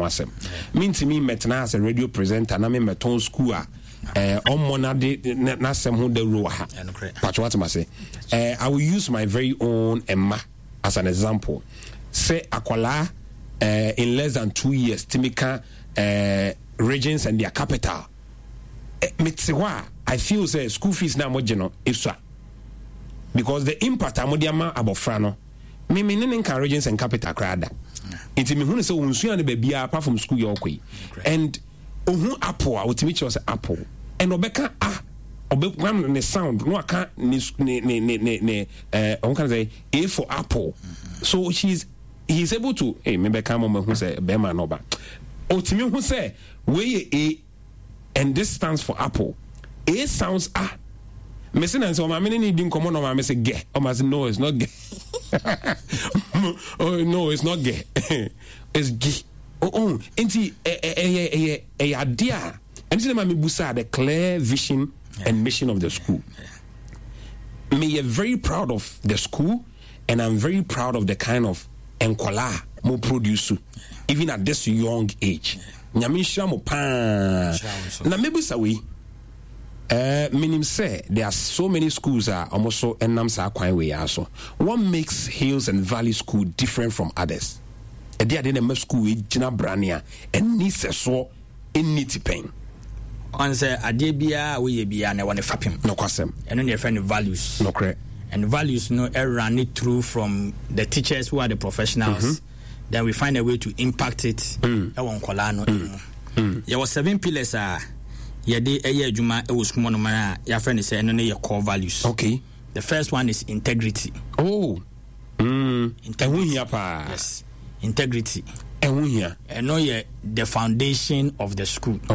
asɛm. Mentumi mmɛtena as a radio presenter na memmɛtɔn school a ɔmmɔ n'ade n'asɛm ho dawuro wɔ ha. Patro atem ase. I will use my very own mma as an example. Sɛ akwadaa in less than 2 years tumi ka regions and their capital. Mete hɔ a, I feel sɛ school fees na mogye no esua because the impact a mode ama abɔfra no, me ne ne nka regions and capital koraa da, nti mehu no sɛ ɔnsua no baabiara apart from school yɛ ɔkɔ yi. And ohun apple a, otumi kyerɛ sɛ apple, and ɔbɛka a, ɔbɛka ne sound na waka ne ɔmo ka sɛ A for apple. So she's he is able to, hey, me bɛka mo mahu sɛ bɛrima na ɔba otumi hu sɛ wei yɛ A and this stands for apple. A sounds a. Mese na nsɛ ɔmaame ne ne di nkɔmmɔ na ɔmaame sɛ gɛ, ɔma sɛ, "No, it's not gɛ. Oh, no, it's not gɛ, it's g." Oh, nti ɛyɛ adeɛ a ɛno sɛ ma mebusa the clear vision and mission of the school. Me yɛ very proud of the school and I'm very proud of the kind of nkɔlaa mo produce even at this young age. Nyame nhyira mo paa. Na mebisa wei, menim sɛ there are so many schools a ɔmo so ɛnam saa kwan wei ara so. What makes Hills and Valley School different from others? Ɛde adeɛ na ɛma school wei gyina brane a ɛnni sɛsoɔ, ɛnni tipɛn? Ɔn sɛ adeɛ biara a woyɛ biara na ɛwɔ ne fapem. Nokwasɛm. Ɛno ne yɛfrɛ no values. Nokorɛ. And values no ɛrun through from the teachers who are the professionals. Then we find a way to impact it ɛwɔ nkɔlaa no mu. Yɛwɔ seven pillars a yɛde ɛyɛ adwuma ɛwɔ sukuu mu nom a yɛafrɛ no sɛ ɛno ne yɛ core values. The first one is integrity. Oh. Ɛho hia paa. Yes. Integrity. Ɛho hia. Ɛno yɛ the foundation of the school. A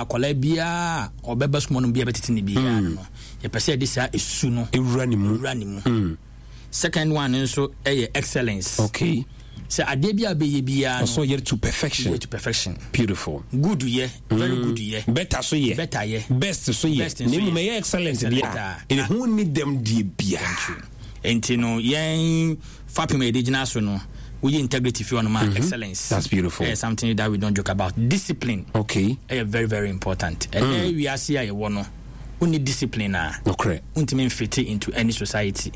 akwadaa biara ɔbɛba sukuu no biara bɛtete ne biara no, yɛpɛ sɛ yɛde saa esu no ewura ne mu. Ewura ne mu. Second one nso ɛyɛ excellence. Sɛ adeɛ bi a bɛyɛ biara no, ɔsɔ yɛ to perfection. Yɛ to perfection. Beautiful. Good yɛ, very good yɛ. Better so yɛ. Better yɛ. Best so yɛ. Best nso Na emu yɛ. ɛyɛ excellent deɛ a, ɛho ni dɛm deɛ biara. Nti no yɛn fapem a yɛde gyina so no, woyi integrity fi hɔnom a, excellence. That's beautiful. Ɛyɛ something that we don't joke about. Discipline ɛyɛ very, very important. Ɛnɛ wiase a yɛwɔ no, wonni discipline a, Nokorɛ. wontumi mfit into any society,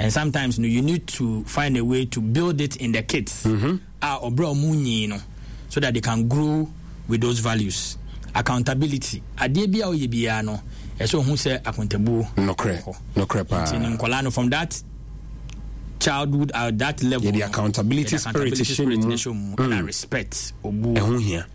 and sometimes no, you need to find a way to build it in the kids a ɔbrɛ a ɔmo nyi no so that they can grow with those values. Accountability, adeɛ bi a ɔyɛ biara no, ɛsɛ ohun sɛ akontabuo Nokorɛ. wɔ hɔ. Nokorɛ paa. Nti ne nkɔlaa no, from that childhood, that level Yɛde no, accountability yɛde spirit accountability hyɛ ne spirit mu. ne hyɛ mu, ɛna respect, obuo. Ɛho hia,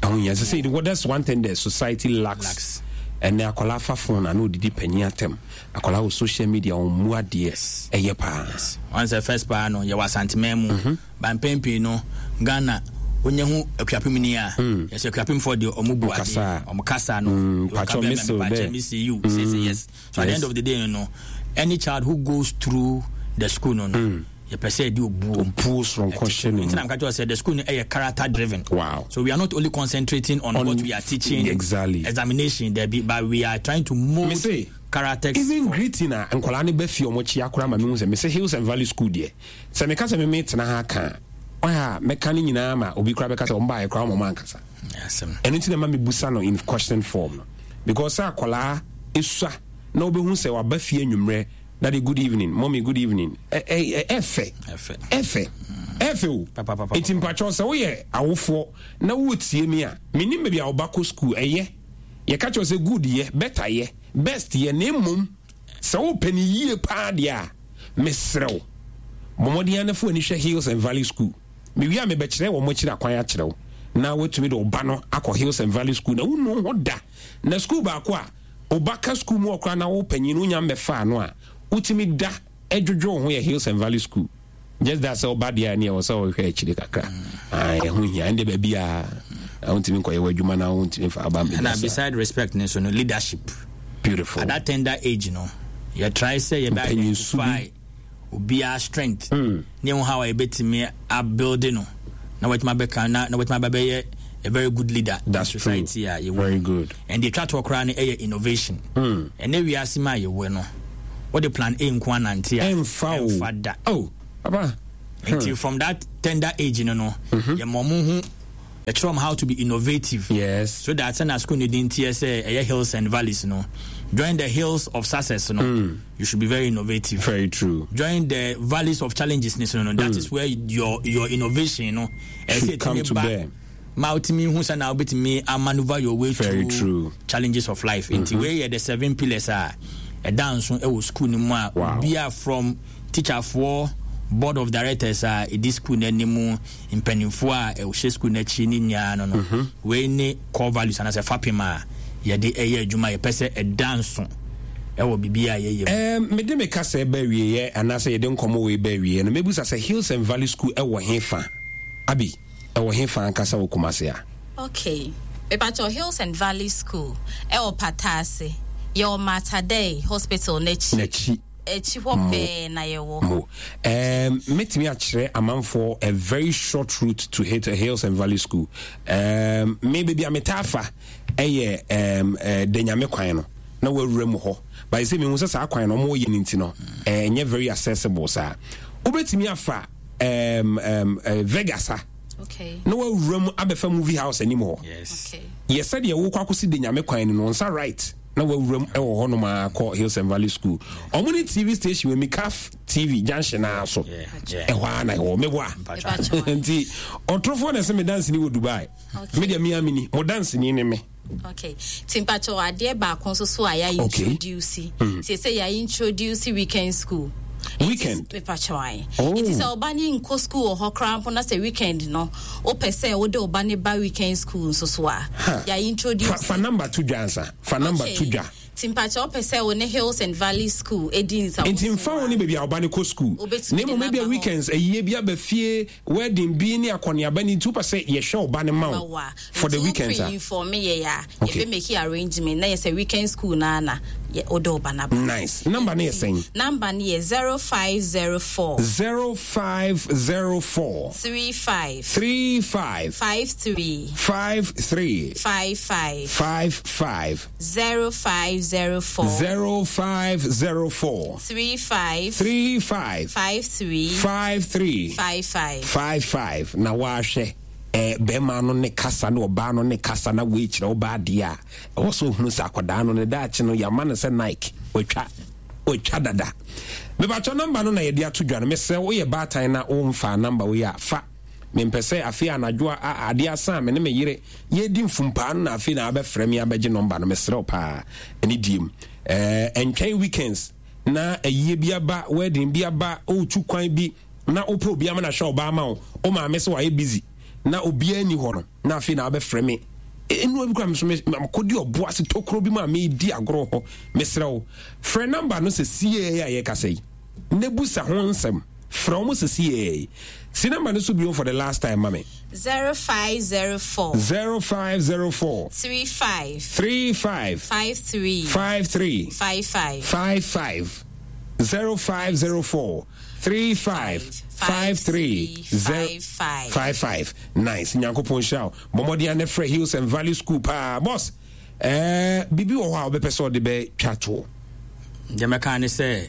ɛho hia. Sɛ well, that's one thing the society lacks. Lacks. Ɛnɛ akwadaa fa phone a na odidi panyin atɛm, akwadaa wɔ social media, wɔn mu adeɛ ɛyɛ paa. Wɔn sɛ first paa no, yɛwɔ Asanteman mu ba, mpɛn pii no Ghana onye ho Akuapem ni a, yɛsɛ Akuapemfoɔ deɛ, ɔmo bu Ɔkasa. adeɛ, ɔmo kasa no, Patro ɔka bɛrima, missile mepakyɛ there. missile you say yes. So at the end of the day no, any child who goes through the school no, yɛpɛ sɛ yɛde obuo Obuo soronko hyɛ ne nti mu. Na meka kyerɛ sɛ the school no ɛyɛ character driven. So we are not only concentrating on what we are teaching, examination there be, but we are trying to mold Me say, characters. Even greeting a nkwadaa no bɛ fie, ɔmo kyia koraa ma mehu sɛ mese Hills and Valley School deɛ, sɛ meka sɛ meme tena ha ka a, ɔyɛ a mɛka no nyinaa ma obi koraa bɛka sɛ ɔmo baayɛ koraa ɔmo ankasa. Asɛm. Ɛno nti na ma mebusa no in question form no, because sɛ akwadaa esua na wobɛhu sɛ waba fie anwummerɛ, "Daddy, good evening. Mommy, good evening," ɛfɛ. Ɛfɛ. Ɛfɛ, ɛfɛ o. Pa, pa, pa, pa, nti mpakyɛw, sɛ woyɛ awofoɔ na wotie mi a, menim baabi a woba kɔ school, ɛyɛ yɛka kyerɛ sɛ good yɛ, better yɛ, best yɛ, na mmom sɛ wopɛ no yie paa deɛ a, mesrɛ wo, bɔ mmɔden anafo ani hwɛ Hills and Valley School. Mewie a, mebɛkyerɛ wɔn akyiri akwan akyerɛ wo na woatumi de wo ba no akɔ Hills and Valley School na wonu ho da. Na school baako a woba ka school mu ɔkora na wo panyin no wonya mmɛfaa no a, wotumi da adwodwo wo ho yɛ Hills and Valley School. Just that sɛ woba deɛ a, ne ɛwɔ sɛ wohwɛ akyire kakra. Ah, ɛho hia. Ɛnde baabi a wontumi nkɔyɛ w'adwuma na wontumi fa aba And mmɛda saa. Beside respect ne so no, leadership. Beautiful. At that tender age no, yɛ try sɛ yɛbɛ Mpanyinsu bi. identify obiara strength ne ɛho how a yɛbɛtumi abuild no na watumi abɛka na watumi aba bɛyɛ a very good leader That's in society true. a yɛwɔ. Very good. And deɛ twa toɔ koraa no ɛyɛ innovation. Ɛnɛ wiase mu a yɛwɔ no, wode plan A nko anante a, ɛmfa o. Ɛmfa da. Oh, papa. Nti from that tender age no, yɛma ɔmo ho Yɛkyerɛ wɔn how to be innovative. Yes. So that sɛnea school no din teɛ sɛ ɛyɛ hills and valleys no, join the hills of success no, mm. you should be very innovative. Very true. Join the valleys of challenges no, no, that mm. is where your your innovation no, should come to bear. Ma wotumi hu sɛ na wobɛtumi amaneuver your way very through true. challenges of life. Nti mm -hmm. wei yɛ the seven pillars a ɛda nso ɛwɔ school no mu a obiara from teacherfoɔ board of directors a ɛdi school no anim mpanimfoɔ a ɛhyɛ school no akyi ne nyinaa no no mhm. wei ne core values anaasɛ fapem a yɛde ɛyɛ adwuma yɛpɛ sɛ ɛda nso ɛwɔ biribi a yɛyɛ mu. mede me kasa ba awieɛ anaasɛ yɛde nkɔmmɔ wei ba awieɛ no mɛbusa sɛ Hills and Valley School ɛwɔ he fa abi ɛwɔ he fa ankasa wɔ Kumase a? Okay. Mepakyɛw Hills and Valley School ɛwɔ Pataase. Yɛwɔ Mater Dei Hospital n'akyi. N'akyi. Akyi hɔ pɛɛ na yɛwɔ. Mo. Um, mɛtumi akyerɛ amanfoɔ a very short route to hit Hills and Valley School. Um, me baabi a metaa fa ɛyɛ um, uh, Danyame kwan no na wawura mu hɔ. But sɛ mehu sɛ saa kwan no ɔmo yɛ no nti no, ɛnyɛ very accessible saa. Wobɛtumi afa um, um, uh, Vegas ha. Okay. Na wawura mu abɛfa movie house anim hɔ. Yes. Okay. Yɛ sɛdeɛ wokɔ akɔsi Danyame kwan no no nsa right. Na wawura mu wɔ hɔnom ara kɔ Hills and Valley School. Wɔn ne TV station wɔ Mikaf TV junction naa so. Ɛhɔ ara na ɛwɔ meboa. Nti ɔtorofoɔ na ɛsɛ me danseni wɔ Dubai. Me deɛ me amini, mo danseni ne me. Okay. Ti mpakyɛw adeɛ baako nso so a yɛ introduce. Ti sɛ yɛ introduce weekend school. Weekend. Mepakyɛw ayi. Oh. Nti sɛ ɔba ne nkɔ school wɔ hɔ koraa mpo na sɛ weekend no wopɛ sɛ wode ɔba ne ba weekend school nso so a yɛ introduce. Fa, fa number to dwa ansa. Fa number to dwa. Ti mpakyɛw wopɛ sɛ wo ne Hills and Valley School edi nsa. Nti nfa wo ne baabi a ɔba ne kɔ school. Na mmom ebia weekends ayie bi aba fie wedding bi ne akɔneaba ni nti wopɛ sɛ yɛhwɛ ɔba ne ma wo for the weekends a. Nti wo pre-inform yɛ ya. Okay. Yɛbɛ make arrangement na yɛ sɛ weekend school na na yɛ wode ɔba na ba. Nice. Number ne yɛ sɛn? Number ne yɛ 0504. 0504. 35. 35. 53. 53. 55. 55. 0504. 0504. 35. 35. 53. 53. 55. 55. Na wahwɛ. Eh, bɛrima no ne kasa ne ɔbaa no ne kasa na wei kyerɛ ɔbaa adeɛ a ɛwɔ sɛ ohunu sɛ akwadaa no ne daakye no yɛama no sɛ Nike watwa watwa dada mebatwɔ namba no na yɛde ato dwa no mesrɛ woyɛ baatan na womfa namba wei a fa mempɛ sɛ afei anadwo a adeɛ asa a me ne me yere yɛdi mfumpaa no na afei na abɛfrɛ me abɛgye nɔmba no mesrɛ wo paa ɛne diem ɛɛ ɛntwɛn weekends na ayie bi aba wedding bi aba wotu kwan bi na wopɛ obi ama no ahwɛ ɔbaa ma wo wo maame sɛ wayɛ busy na obiara nni hɔ no na afei na wabɛfrɛ me nnua bi kora me so mekɔdi ɔbo ase tokuro bi mu a medi agorɔ hɔ mesrɛ wo frɛ namba no sɛ siee a yɛkasa yi na busa ho nsɛm frɛ wɔn sɛ siee si namba no so bio for the last time ma me 0504 0504 35 35 53 53 55 55 0504 35 53 55 nice nyankopɔn nhyira wo bɔ mmɔden a ne frɛ Hills and Valley School paa boss eh, biribi wɔ hɔ a wobɛpɛ sɛ ɔde bɛtwa toɔ? Deɛ mɛka ne sɛ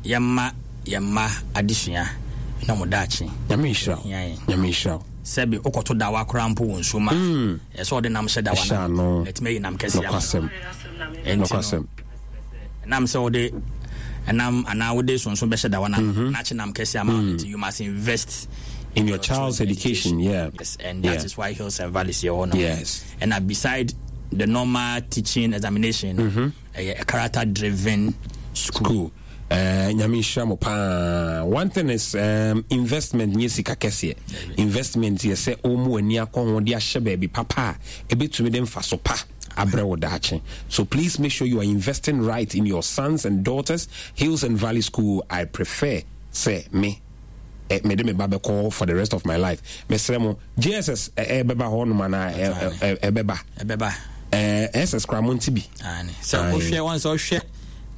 yɛmma yɛn mma adesua na wɔn daakye. Nyame nhyira wo. Nyame nhyira wo. Sɛbi wokɔto dawa koraa mpo wɔ nsuo mu a, mm. ɛsɛ ɔde nam hyɛ dawa no na ɛtumi ayi nam kɛseɛ ama. Nokwasɛm. Nokwasɛm. Ɛnam sɛ wode ɛnam anaa wode sonso bɛhyɛ dawa no mhm. na akye nam kɛseɛ ama mm. nti you must invest in your child's education, yeah. Yes, and that yeah. is why Hills and Valleys here. No. Yes. And beside the normal teaching examination, mm-hmm. a, a character driven school. school. Nyame nhyira mo paa. One thing is um, investment nyɛ sika kɛseɛ. Investment yɛ sɛ wɔn ani akɔ ho de ahyɛ baabi papa a ebetumi de mfaso pa abrɛ wo daakye. So please make sure you are investing right in your sons and daughters. Hills and Valley School, I prefer sɛ me eh, mede me ba bɛkɔ for the rest of my life. Mesrɛ mo, JSS ɛbɛba hɔ nom anaa ɛbɛba? Ɛbɛba. SS koraa mo nte bi. Sɛ wohwɛ wɔn sɛ wohwɛ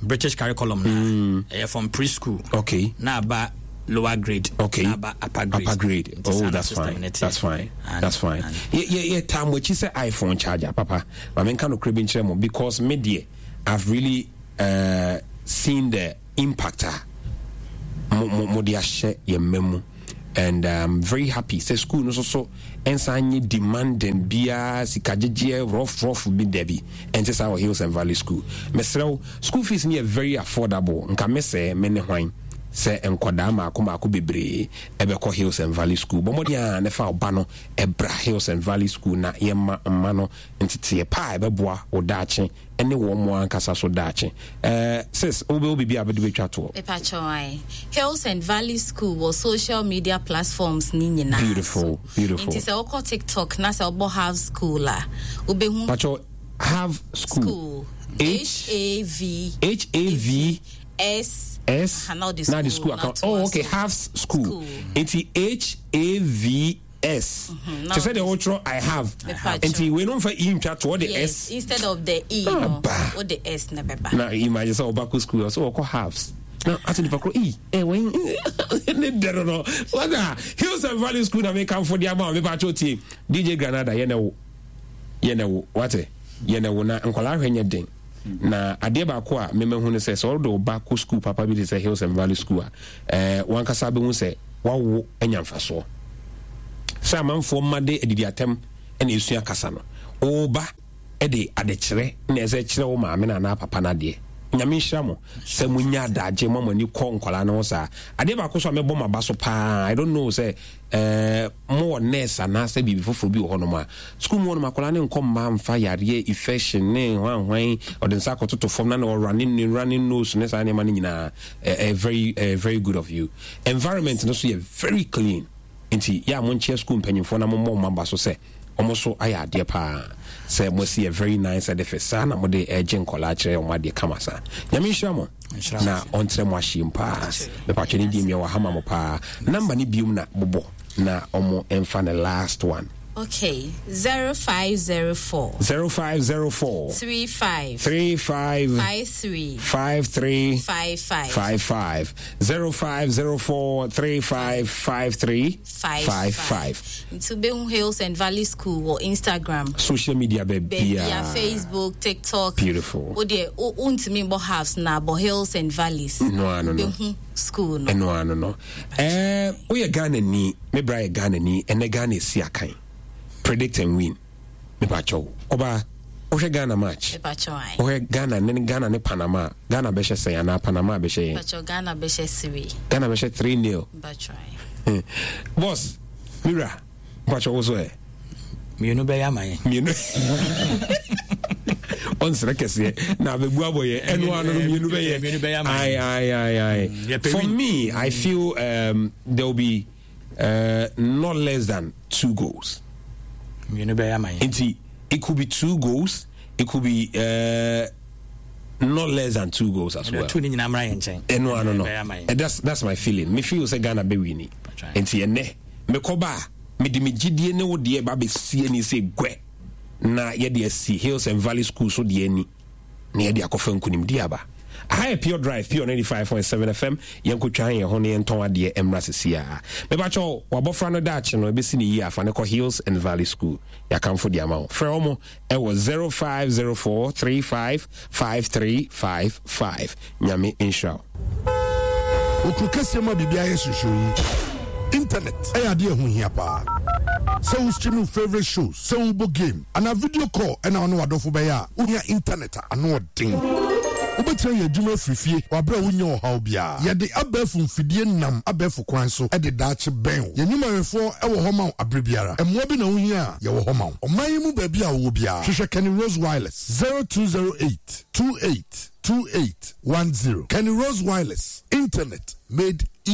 British curriculum na mm. ɛyɛ from preschool. Okay. Na aba lower grade. Okay. Na aba upper grade. Upper grade. Oh, that's fine. That's fine. That's fine. Yɛ yɛ yɛ taa mo akyi sɛ iPhone charger papa. Maame nka no kure bi nkyerɛ mo because me deɛ I've really uh, seen the impact a mo mo mo de ahyɛ yɛn mma mu. And I'm very happy sɛ school no soso nsan nye demanding biara, sika gyegyeɛ rough rough bi dabi, ɛnte saa wɔ Hills and Valley School. Mesrɛ wo, school fees no yɛ very affordable. Nka me sɛ me ne hwan sɛ nkɔdaa maako maako bebree ɛbɛkɔ Hills and Valley School. Bɔ mmɔden a ne fa ɔba no ɛbra Hills and Valley School na yɛma mma no nteteɛ pa a ɛbɛboa wo daakye ne wɔn mo ankasa so daakye. Eh, sis, wobɛwɔ biribi a bɛde bɛtwa toɔ? Mepakyɛw ae. Hills and Valley School wɔ social media platforms ne nyinaa. Beautiful, beautiful. Nti sɛ wokɔ TikTok na sɛ wobɔ Have School a, wobɛhu. Pakyɛw, Have School. School. H A V. H A V. S. S. Na the school account. Oh, okay, Have School. Nti H A V S. Kyɛ sɛ deɛ wotwerɛ I have. Nti wei no mfa E ntwa to ɔde S. Instead of the E no, wode S na bɛba. Na imagine sɛ ɔba kɔ school ɔsɛ wɔkɔ halves. Na ate nipa korɔ ei ɛwɛn ne dɛ no no. Wada Hills and Valley School na mekamfo de ama wo mepa kyɛw tie. DJ Granada yɛ na wo. Yɛ na wo wate. Yɛ na wo na nkwadaa hwɛ nyɛ den. Na adeɛ baako a memahu ne sɛ sɛ wode wo ba kɔ school papa bi te sɛ Hills and Valley School a, eh, wankasa bɛhu sɛ wawo anya mfasoɔ. Sɛ amanfoɔ mma de adidi atɛm na ɛsua kasa no, wo ba de adekyerɛ na ɛsɛ kyerɛ wo maame no anaa papa no adeɛ. Nyame nhyira mo sɛ monya adagye ma mo ani kɔ nkwadaa no ho saa. Adeɛ baako so a mɛbɔ mo aba so paa, I don't know sɛ eh, mowɔ nurse anaasɛ biribi foforɔ bi wɔ hɔnom a, sukuu mu hɔnom akwadaa no nkɔ mma mfa yareɛ, infection ne hwanhwan, ɔde nsa akɔtoto fam na na ɔrane ne running nose ne saa nneɛma no nyinaa. Eh, eh, very, eh, very good of you. Environment no so yɛ very clean. Nti yɛ a monkyea sukuu mpanyinfoɔ na mommɔ wɔn aba so sɛ wɔn so ayɛ adeɛ paa sɛ moasi a very nice edifice saa na mode ɛregye nkɔlaa kyerɛ wɔn adeɛ kama saa. Nyame nhyira mo na ɔntrɛ mo ahyeɛ mu paa. Mepatwɛ ne die mmea wɔ ha ma mo paa. Number ne biom na bobɔ na wɔn mfa ne last one. Okay, 0504. 0504. 35. 35. 53. 53. 55. 55. 0504 35 53 55. Nti wobɛhu Hills and Valley School wɔ Instagram. Social media baabiara. Facebook, TikTok. Beautiful. Wo deɛ wontumi mbɔ halves na bɔ Hills and Valleys. No ano no. Wobɛhu school no. Ɛno ano no. Ɛɛ woyɛ Ghana ni, me bra yɛ Ghana ni, ɛnɛ Ghana esi akan. Predict and win. Mepakyɛw. Ɔbaa, wohwɛ Ghana match? Mepakyɛw ae. Wohwɛ Ghana ne Ghana ne Panama, Ghana bɛhyɛ sɛn anaa Panama bɛhyɛ yɛn? Mepakyɛw Ghana bɛhyɛ 3. Ghana bɛhyɛ 3 nil. Mepakyɛw ae. Boss, mira, mepakyɛw wo so ɛ? Mmienu bɛyɛ ama yɛn. Mmienu. Ɔnsrɛ kɛseɛ na abɛbu abɔ yɛ ɛno ano no mmienu bɛyɛ. Mmienu bɛyɛ ama yɛn. Aye, aye, aye, aye. Yɛpɛ For win. me, I feel there will be not less than 2 goals. Mmienu bɛyɛ ama yɛn. Nti it could be 2 goals, it could be not less than 2 goals as well. 2 ni nyinaa mmra yɛn nkyɛn. Ɛno ano no. Bɛyɛ ama yɛn. That's my feeling. Me feel sɛ Ghana bɛ wini. Nti ɛnɛ mekɔ ba a mede me gyidie ne wo deɛ ba bɛsie ni sɛ guɛ na yɛde asi Hills and Valley School so deɛ ani na yɛde akɔfa nkunimdie aba. Aha yɛ Pure Drive, Pure 95.7 FM. Yɛnkɔtwa yɛn ho na yɛntɔn adeɛ mmra sisi a. Mebakyɛw, wabɔfra no daakye no ɛbɛsi ne yie afa ne kɔ Hills and Valley School. Yɛakamfo de ama wo. Frɛ wɔn ɛwɔ 0504 35 5355. Nyame nhyira wo. Okuro kɛseɛ mu a biribiara yɛ hyehyɛ yi, internet ɛyɛ adeɛ ɛho hia paa. Sɛ wo stream wo favourite shows, sɛ wobɔ game, anaa video call ɛna wo ne w'adɔfo bɛyɛ a, wohia internet a ano ɔden. Wobɛtumi ayɛ adwuma afiri fie wɔ aberɛ a wonnya ɔhaw biara. Yɛde abɛɛfo mfidie nam abɛɛfo kwan so de daakye bɛn wo. Yɛn nnwumayɛfoɔ wɔ hɔ ma wo aberɛ biara. Mmoa bi na wohia a, yɛwɔ hɔ ma wo. Ɔman yi mu baabi a wowɔ biara, hwehwɛ Kenny Rose Wireless, 0208 28 28 10. Kenny Rose Wireless, internet made easy.